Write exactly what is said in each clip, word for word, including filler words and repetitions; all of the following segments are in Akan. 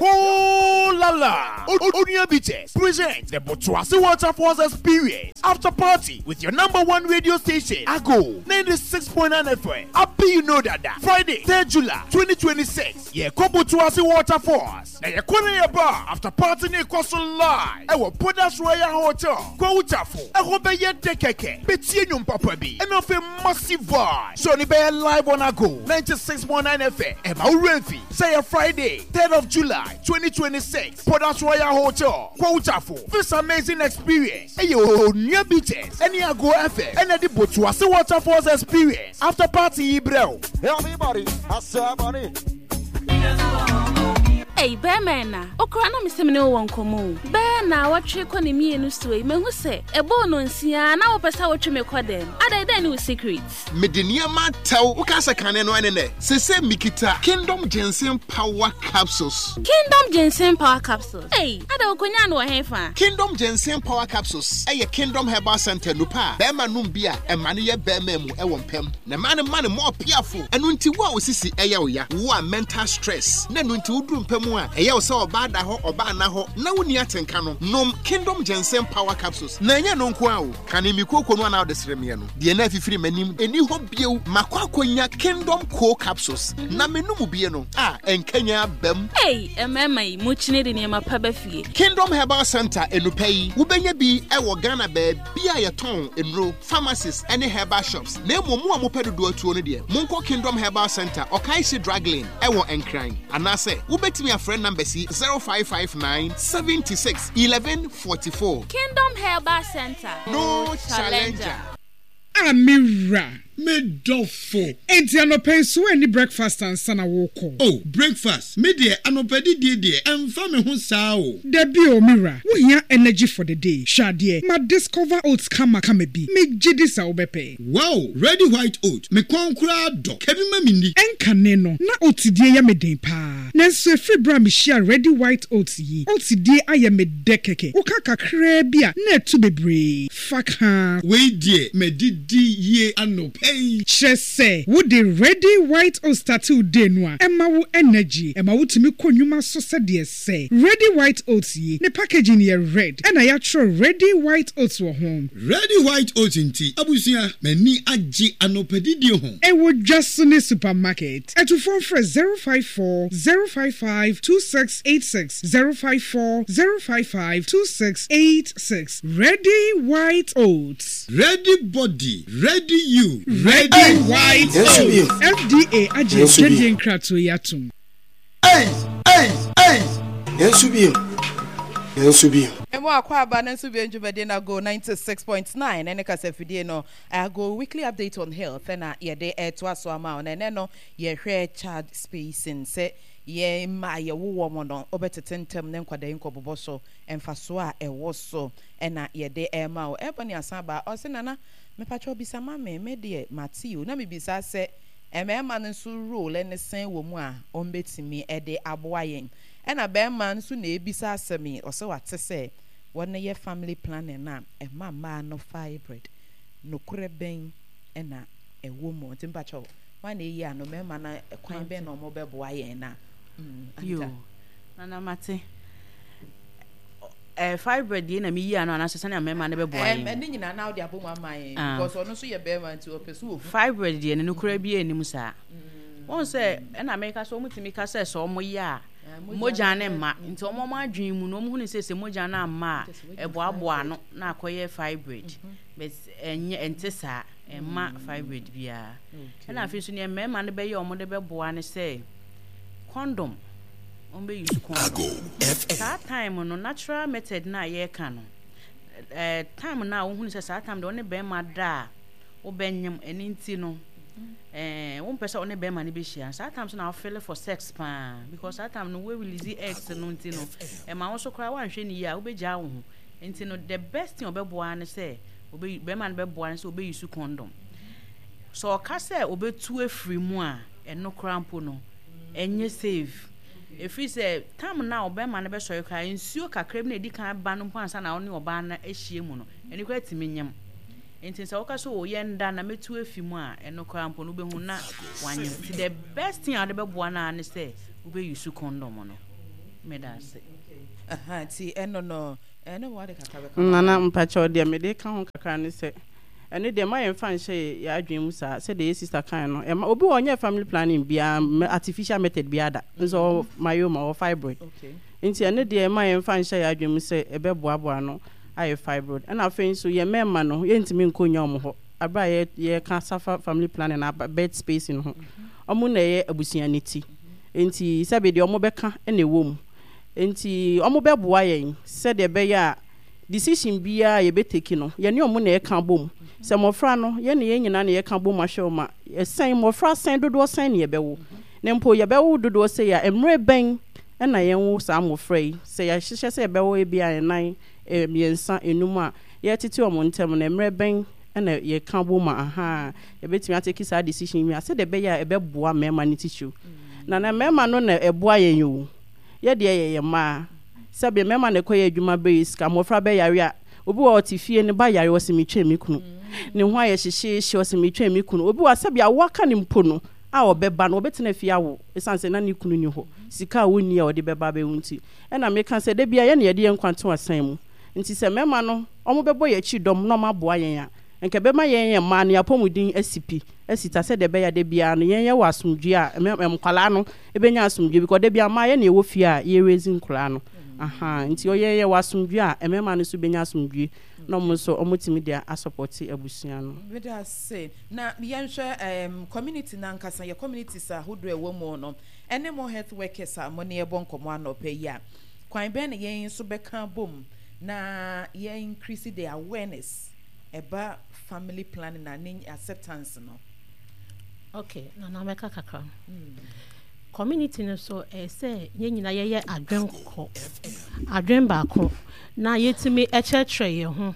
Oh la la! Onua Bitters presents the Botuasi Waterfalls Experience After Party with your number one radio station, Ago ninety-six point nine F M. Happy you know that that Friday, third July twenty twenty-six. Yeah, Botuasi Waterfalls. Na yɛkɔ na yɛba after party ne kɔ so live. Ɛwɔ Podas Royal Hotel. Kwawu Tafo. Ɛhɔ bɛyɛ dɛ kɛkɛ. Betie nnwom papa bi. Ɛna afei massive vibe. So ne bɛyɛ live on Ago ninety-six point nine F M. Ɛma wo remfi. Sɛ yɛ Friday, third of July twenty twenty-six. Podas Royal Hotel. Kwawu Tafo. This amazing experience. Ɛyɛ Onua Bitters. Ɛne Ago F M. Ɛna de Botuase Waterfalls Experience. After party yi brɛ wo. Everybody, I said money. Ei, bɛrima na okura na mesɛ mene wowɔ nkɔmmɔ o. Bɛɛ na wɔtwe kɔ ne mmienu so yi, mahu sɛ ɛbɔɔ no nsia na wopɛ sɛ wotwe me kɔ dɛm. Adɛn, dɛn ne wo secret? Mede nneɛma tɛw woka sɛ kane no ɛne nɛ sese mikita Kingdom Ginseng Power Capsules. Kingdom Ginseng Power Capsules? Ei, ada wokonya no wɔ he fa? Kingdom Ginseng Power Capsules ɛyɛ Kingdom Herbal Center nupa a bɛrima nom bi a ɛma no yɛ bɛrima mu ɛwɔ mpɛm na ɛma no ma no mɔɔ piafo. Ɛno nti wo a osisi ɛyɛ wo ya, wo a mental stress na ɛno nti woduru mpɛ mu a ɛyɛ wo sɛ ɔbaa da hɔ, ɔbaa na hɔ na wonni atenka no, nom Kingdom Ginseng Power Capsules. Na ɛnyɛ no nko a o, kane mi kooko no anaa wode sere meɛ no deɛ na afifiri m'anim ɛni hɔ bio. Makɔ akɔnya Kingdom Co Capsules na menom bie no a ɛnkanya aba mu. Ei, mmarima yi mokyini de nneɛma pa ba fie. Kingdom Herbal Center enupɛ yi wobɛnya bi ɛwɔ Ghana baabi a yɛtɔn nnuro, pharmacies ne herbal shops. Na mmom mo a mopɛ dodoɔ atuo no deɛ, monkɔ Kingdom Herbal Center, Ɔkaehye Drug Lane ɛwɔ Nkran, anaasɛ wobɛtumi afrɛ numbers yi: zero five five nine seventy-six eleven forty-four. Kingdom Herbal Center. No challenger. A me wura. Me dɔfo. Enti anɔpa yi so ani breakfast ansa na wokɔ? Oh, breakfast, me deɛ anɔpa didie deɛ ɛmfa me ho saa o. Dabi o, me wura, wohia energy for the day. Hwɛ adeɛ, ma discover oats kama kama bi. Megye di sɛ wobɛpɛ. Wow, Ready White Oat, me kɔn koraa dɔ. Kabi ma me ni. Ɛnkane no na oats die yɛ me den paa, nanso ɛfiri berɛ a mehyia Ready White Oats yi, oats die ayɛ me dɛ kɛkɛ. Woka kakraa bi a na ɛtu bebree fa kaa. Wei deɛ madidi yie anɔpa yi. Kyerɛ sɛ wode Ready White Oats start wo day no a, ɛma wo energy, ɛma wotumi kɔ nnwuma so sɛdeɛ sɛ. Ready White Oats yi ne packaging yɛ red ɛna yɛatwerɛ Ready White Oats wɔ ho. Ready White Oats nti abusua, m'ani agye anɔpa didie ho. Ɛwɔ dwa so ne supermarket. Ɛtufoɔ frɛ zero five four zero five five two six eight six, zero five four zero five five two six eight six. Ready White Oats. Ready body, ready you. Ready White Yesu Oats. bio. F D A agye Yesu bio. adwadie nkratoɔ yi atom. Ei, ei, ei! Nanso bio, nanso bio. Emu akɔ aba no nso bi ndwumadie na Go ninety-six point nine ɛne kasafidie no, Ago Weekly Update on Health ɛna yɛde ɛtoa so ama wo. Na ɛnɛ no yɛhwɛ child spacing, sɛ yɛn mma a yɛwowɔ mo no wobɛtete ntɛm ne nkwadaa yi nkɔbobɔ so, mfasoɔ a ɛwɔ so ɛna yɛde ɛma wo. Ɛbɔ ne asan ba ɔsɛ nana mepatwa bisa ma me me deɛ mate o, na mebisa sɛ mmarima no nso role ne sɛn wɔ mu a ɔmbɛtumi ɛde aboa yɛn, ɛna bɛrima nso na ebisa asɛm yi, ɔsɛ wate sɛ wɔn yɛ family planning na ɛma mmaa no fibroid, nokorɛ bɛn ɛna ɛwɔ mu? Nti mpakyɛw, wɔn na eyi ano mmarima na kwan bɛn na wɔn bɛboa yɛn na mm Yo. Anita. Nana mate. Ɛɛ fibroid deɛ na meyi ano anaasɛ sɛnea mmarima no bɛboa ɛm yɛn? Ɛne nyinaa na ɔde abɔ mu ama yɛn Ah. because ɔno nso yɛ bɛrima nti ɔpɛ so ohu. Fibroid deɛ no nokora bi anim saa. Wɔn sɛ ɛna mɛka sɛ wɔn tumi ka sɛ sɛ wɔn yɛ a mogya ne mma, nti wɔn wɔn adwene mu no wɔn hu ne sɛ sɛ mogya no amma a ɛboaboa ano na akɔyɛ fibroid, but ɛnyɛ, ɛnte saa, ɛmma fibroid biara. Ɛna afei nso nea mmarima no bɛyɛ a wɔn de bɛboa ne sɛ condom, wɔn bɛ use condom saa time no. Natural method na yɛreka no, ɛɛ time no a wohunu sɛ saa time deɛ wɔne bɛrima da a wobɛnyem, ɛne nti no ɛɛ wompɛ sɛ wɔne bɛrima no bɛhyia saa time so na wofeel for sex paa, because saa time no wo release eggs no, nti no ɛma wo so koraa woanhwɛ ne yie a wobɛgyaa wo ho. Nti no the best thing ɔbɛboa ne sɛ ɔbɛ bɛrima no bɛboa ne sɛ ɔbɛ use condom. Sɛ ɔka sɛ ɔbɛtu afiri mu a, ɛno koraa mpo no ɛnyɛ safe, ɛfiri sɛ tam no a ɔbɛrima no bɛsɔre koraa, nsuo kakra bi na ɛdi kan ba no mpo ansa na ɔne ɔbaa no ahyia mu no, ɛno koraa tumi nyam. Nti sɛ woka sɛ o yɛnda na mɛtu afi mu a, ɛno koraa mpo no wobɛhu na wanyam. Nti the best thing a wode bɛboa no a ne sɛ wobɛ use condom no. Meda ase. Aha, nti ɛno no ɛno wɔ ade kakra bɛka. Nana, mpakyɛw, deɛ mede ka ho kakra ne sɛ ɛno deɛ ma yɛmfa nhyɛ yɛ adwene mu saa. Sɛdeɛ yɛ sister kan no, ɛma obi wɔ ɔnyɛ family planning biara, artificial method biara da nso ɔwɔ myoma, ɔwɔ fibroid. Nti ɛno deɛ ma yɛmfa nhyɛ yɛ adwene mu sɛ ɛbɛboaboa no ayɛ fibroid. Ɛna afei nso yɛ mmarima no, yɛntumi nkɔ nya ɔmo hɔ abere a yɛka safa family planning na birth spacing ho. Ɔmo na ɛyɛ abusua ne ti, nti sɛbi deɛ ɔmo bɛka ɛna ɛwɔ mu, nti ɔmo bɛboa yɛn sɛdeɛ ɛbɛyɛ a decision biara yɛbɛ take no, yɛne ɔmo na ɛka bom sɛ mmɔfra no, yɛne yɛn nyinaa na yɛka bom ahwɛ ɔmo a ɛsɛn mmɔfra sɛn dodoɔ sɛn ne yɛbɛwo, na mpo yɛbɛwo dodoɔ sɛ yɛ a mmerɛ bɛn ɛna yɛnwo saa mmɔfra yi. Sɛ yɛahyehyɛ sɛ yɛbɛwo ebi a ɛnan, mmiɛnsa, enum a yɛtete ɔmo ntɛm no, mmerɛ bɛn ɛna yɛka bom a aha yɛbɛtumi a take saa decision yi a sɛdeɛ ɛbɛyɛ a ɛbɛboa mmarima no titiriw. Na na mmarima no na ɛboa yɛn o, yɛdeɛ yɛyɛ mmaa. Sɛbi mmarima na ɛkɔyɛ adwuma bɛyɛ sika, mmɔfra bɛyare a, obi wɔ ɔte fie ne ba yare, ɔsɛ metwɛn me kunu, ne ho ayɛ hyehyeehye, ɔsɛ metwɛn me kunu. Obi wɔ sɛbi awo aka ne mpo no a ɔbɛba no, ɔbɛtena fie awo ɛsiane sɛ na ne kunu ni hɔ, sika a wɔnni a ɔde bɛba abɛwu. Nti ɛna meka sɛ da bia yɛne yɛde yɛn nkwa to asan mu, nti sɛ mmarima no ɔmo bɛbɔ yɛn akyi dɔm na ɔmo aboa yɛn a, nka bɛma yɛn yɛn mmaa no yɛapɔmuden asi pi asi ta, sɛdeɛ ɛbɛyɛ da biara no yɛn yɛwɔ asomdwe a nkwalaa no ɛbɛnya asomdwe, because da biara mmaa yɛn na yɛwɔ fie a yɛrezi nkwalaa no aha. Nti ɔyɛ yɛwɔ asomdwe a, mmarima no nso bɛnya asomdwe na ɔmo nso ɔmo tumi de a support abusua no. Meda ase. Na yɛnhwɛ um, community nankasa, yɛ communities ahodoɔ a ɛwɔ mu no, ɛne mo health workers a mo ne yɛbɔ nkɔmmɔ anɔpɛ yi a, kwan bɛn na yɛn nso bɛka bom na yɛn increase the awareness ɛba family planning na ne acceptance no? Okay, Nana, mɛka kakra. Community no so, ɛyɛ sɛ yɛn nyinaa yɛyɛ adwen kɔ adwen baako na yɛtumi ɛkyerɛkyerɛ yɛn ho.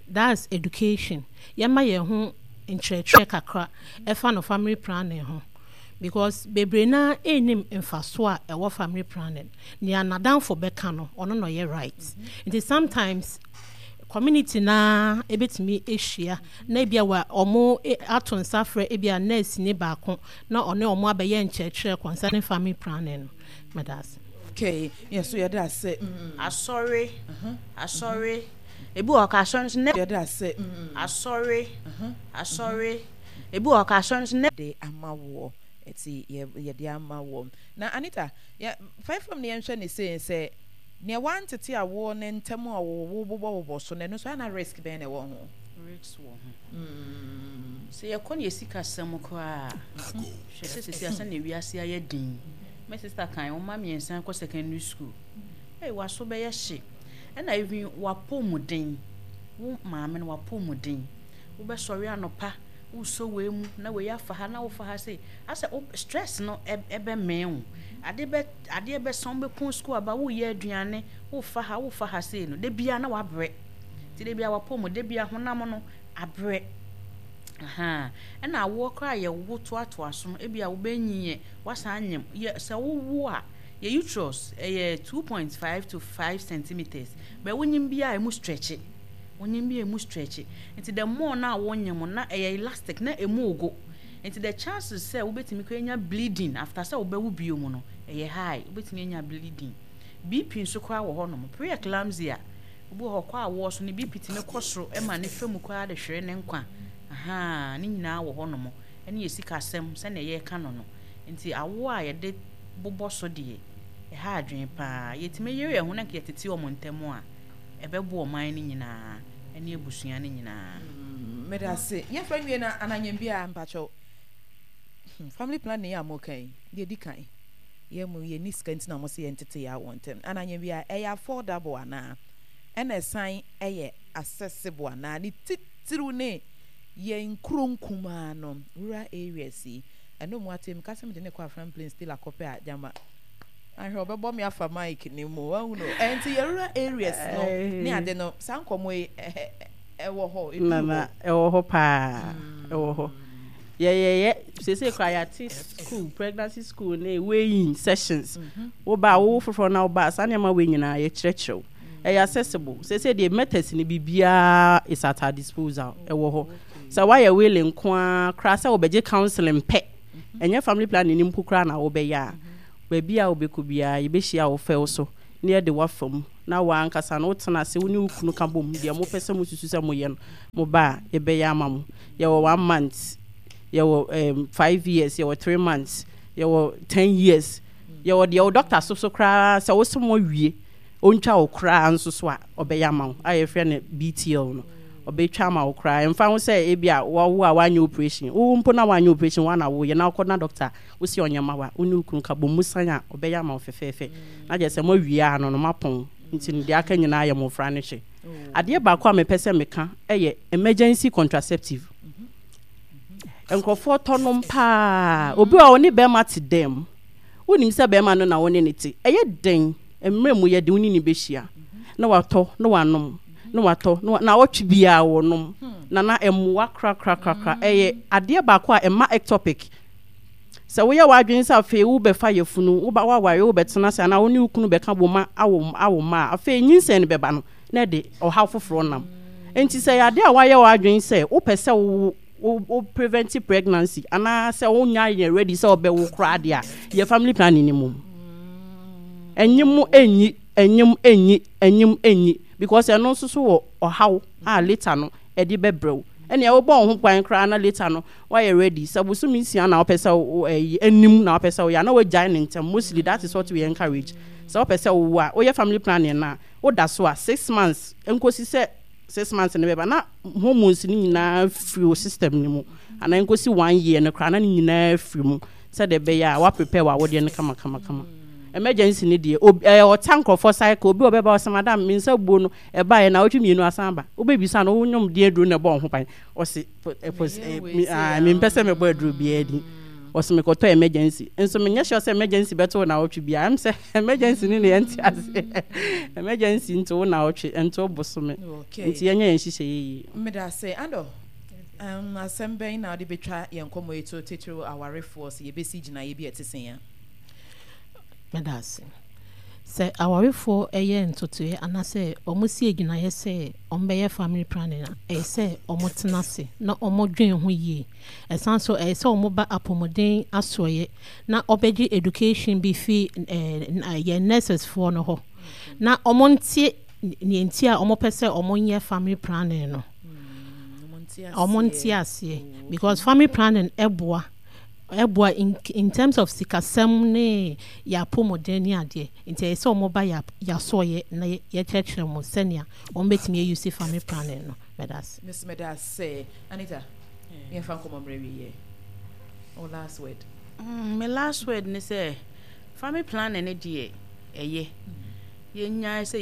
That's education. Yɛma yɛn ho nkyerɛkyerɛ kakra ɛfa no family planning ho, because bebree naa ɛnim mfaso a ɛwɔ family planning. Nea n'adamfo bɛka no, ɔno na ɔyɛ right. Nti sometimes community naa ebetumi ahyia na ebia wa ɔmo ato nsa frɛ ebia nurse ne baako na ɔne ɔmo abɛyɛ nkyerɛkyerɛ concerning family planning no. Mɛda ase. Okay, yɛ so yɛda ase. Asɔre, asɔre, ebi wɔ ka asɔre nso ne yɛda ase. Asɔre, asɔre, ebi wɔ ka asɔre nso ne de ama woɔ, ɛti yɛ yɛde ama woɔ. Na Anita, yɛ five fam ne yɛnhwɛ ne sei sɛ nea wantete awoɔ ne ntɛm a wɔwɔ bobɔbobɔ so no, ɛno nso ana risk bɛn na ɛwɔ ho? Risk wɔ ho. Sɛ yɛkɔ ne yɛsi kasɛm koraa, hwɛ sɛ sisi asɛ na ewiase ayɛ den. My sister kan wɔn mma mmiɛnsa kɔ secondary school, ɛy waso bɛyɛ hye, ɛna even wapɔ mu den, wo maame no wapɔ mu den, wobɛsɔre anɔpa, wosɔ wei mu na wei afa ha na wofa ha sei, asɛ wo stress no ɛbɛmɛn wo. Ade bɛ adeɛ bɛsan, wobɛpɔn school aba, woyɛ aduane, wofa ha, wofa ha sei no, de bia na wabrɛ, nti de bia wapɔ mu, de bia honam no abrɛ aha. Ɛna awoɔ koraa yɛwo toatoa so no, ebi a wobɛnyinyɛ, wasan anyam yɛ sɛ wowo a, yɛ uterus ɛyɛ two point five to five centimeters bɛ, wonyim bi a emu stretch, wonyim bi a emu stretch, nti the more na wonyim na ɛyɛ elastic na emu ogo, nti the chances sɛ wobɛtumi kɔ anya bleeding after sɛ wobɛwo bio mu no ɛyɛ high. Wobɛtumi anya bleeding, B P nso koraa wɔ hɔnom, pre-eclampsia. Obi wɔ hɔ kɔ awoɔ so ne B P tumi kɔ soro ɛma ne fam koraa de hwere ne nkwa aha. Ne nyinaa wɔ hɔnom, ɛne yɛ sikasɛm sɛnea yɛreka no no Nti awoɔ a yɛde bobɔ so deɛ, ɛha adwene paa. Yɛtumi yere yɛn ho na nka yɛtete wɔn ntam a, ɛbɛboa ɔman no nyinaa ɛne abusua no nyinaa. Meda ase. Yɛmfa nwie na ananyɛ bi a mpakyɛw, family planning a moka yi deɛ, di kan yɛ mu yɛni sika nti na mo sɛ yɛntete yɛ awɔ ntɛm. Ananyɛ bi a ɛyɛ affordable anaa, ɛna ɛsan ɛyɛ accessible anaa, ne titiriw ne yɛn nkuro nkumaa no, rural areas yi? Ɛno mu ate meka sɛ mede ne kɔ Afram Plains still akɔpɛ a gyama ahwɛ ɔbɛbɔ me afa mic ne mu wahu no. Ɛnti yɛ rural areas no ne ade no, saa nkɔmmɔ yi ɛwɔ hɔ? Nana, ɛwɔ hɔ paa, ɛwɔ hɔ. Yɛyɛyɛ sese kora yɛate school, pregnancy school ne weighing sessions. Woba a wowo foforɔ na woba a, saa nneɛma wei nyinaa yɛkyerɛkyerɛw. Ɛyɛ accessible sese deɛ, methods ne biribiara is at our disposal. Ɛwɔ hɔ sɛ woayɛ willing nko ara koraa sɛ wobɛgye counseling pɛ, ɛnyɛ family planning ni mpo koraa na wobɛyɛ a, Baabi a wobɛkɔ biara, yɛbɛhyia wo fɛw so na yɛde wo afa mu, na w'ankasa no wotena ase, wo ne wo kunu ka bom, deɛ mopɛ sɛ mosusu sɛ moyɛ no, moba a, yɛbɛyɛ ama mo. Yɛwɔ one month, yɛwɔ um, five years, yɛwɔ three months, yɛwɔ ten years, yɛwɔ deɛ wo doctor so so koraa sɛ wo sɛ mo awie, ɔntwa wo koraa nso so a, ɔbɛyɛ ama wo, a yɛfrɛ no B T L no. Ɔbɛtwa ama wo koraa, ɛmfa ho sɛ ebi a wawo a wanyɛ operation, wo mpo na wanyɛ operation, wana woyɛ na wokɔ na doctor wosi ɔnyɛ ma wa, wo ne wo kunu ka bɔ mu san a, ɔbɛyɛ ama wo fɛfɛɛfɛ, na kyerɛ sɛ moawie a no no mapɔn. Nti no deɛ aka nyinaa yɛ mmɔfra no hwɛ. Adeɛ baako a mepɛ sɛ meka ɛyɛ emergency contraceptive. Nkurɔfoɔ tɔ nom paa. Obi a ɔne bɛrima te dɛm, wonim sɛ bɛrima no na wo ne ne te, ɛyɛ den mmerɛ mu yɛ de wo ne ne bɛhyia na watɔ na wanom na watɔ na na wɔtwe biara wɔnom na na ɛmmoa korakorakora. Ɛyɛ adeɛ baako a ɛma ectopic. Sɛ woyɛ w'adwene sɛ afei wobɛfa yɛfunu, woba woaware, wobɛtena ase anaa wo ne wo kunu bɛka bɔ ma awo awo ma a, afei nyinsɛn no bɛba no na ɛde ɔhaw foforɔ nam. Nti sɛ yɛ adeɛ a woayɛ w'adwene sɛ wopɛ sɛ wo wo wo prevent pregnancy anaa sɛ wonya yɛ ready sɛ wobɛwo koraa deɛ a, yɛ family planning ni mu. Ɛnyim ɛnyi, ɛnyim ɛnyi, ɛnyim ɛnyi, because ɛno nso so wɔ ɔhaw a later no ɛde bɛbrɛw. Ɛnea wobɔ wo ho kwan koraa na later no woayɛ ready sɛ bosome nsia na wopɛ sɛ wo ɛyi anim na wopɛ sɛ woyɛ a, na woagyae ne ntɛm. Mostly that is what we encourage. Sɛ wopɛ sɛ wowo a, woyɛ family planning na woda so a, six months nkosi sɛ six months no bɛba na hormones no nyinaa firi wo system no mu, anaa nkosi one year no koraa na ne nyinaa firi mu, sɛdeɛ ɛbɛyɛ a woaprepare w'awodeɛ no kama kama kama. Emergency ni deɛ, obi ɛyɛ ɔta nkurɔfoɔ cycle. Obi a ɔbɛba ɔsɛ, "Madam, me nsa buo no ɛbaeɛ na ɔtwe mmienu asan aba." Wobɛbisa no, wonyom deɛ aduro na ɛbɔ wo ho ban? Ɔse mempɛ sɛ mebɔ aduro biara din. Ɔse mekɔtɔ emergency nso. Menyɛ sure sɛ emergency bɛto wo na wɔtwe biara. Ɛm sɛ emergency ne ne yɛnte ase. Emergency nto wo na wɔtwe, nto wo bosome. Nti yɛnyɛ yɛn nhyehyɛ yie. Mmeda ase ando. um, asɛm bɛn na wode bɛtwa yɛn nkɔmmɔ yi to, titiriw awarefoɔ, sɛ yɛbɛsi gyinaeɛ bi a ɛte sɛn a? Meda ase. Sɛ awarefoɔ ɛyɛ ntotoeɛ anaasɛ ɔmo si agyinaeɛ sɛ ɔmo bɛyɛ family planning a, ɛyɛ sɛ ɔmo tena ase na ɔmo dwen ho yie. Ɛsan so ɛyɛ sɛ ɔmo ba apɔmuden asoɔyɛ na ɔbɛgye education bi fi ɛɛ yɛn nurses foɔ no hɔ na ɔmo nte nea nti a ɔmo pɛ sɛ ɔmo nyɛ family planning no. Ɔmo nte aseɛ because family planning ɛboa ɛboa in, in terms of sikasɛm ne yɛ apɔmuden ne adeɛ. Nti ɛyɛ sɛ ɔmo ba yɛ yɛasɔɔyɛ na yɛkyerɛkyerɛ mo sɛnea ɔmo bɛtumi ayi family planning no. Mɛda ase. Miss, meda ase. Anita, yɛmfa nkɔmmɔ mmerɛ wieɛ. Oh, last word. Mm, my last word ne sɛ family planning ne deɛ, ɛyɛ yɛnyae sɛ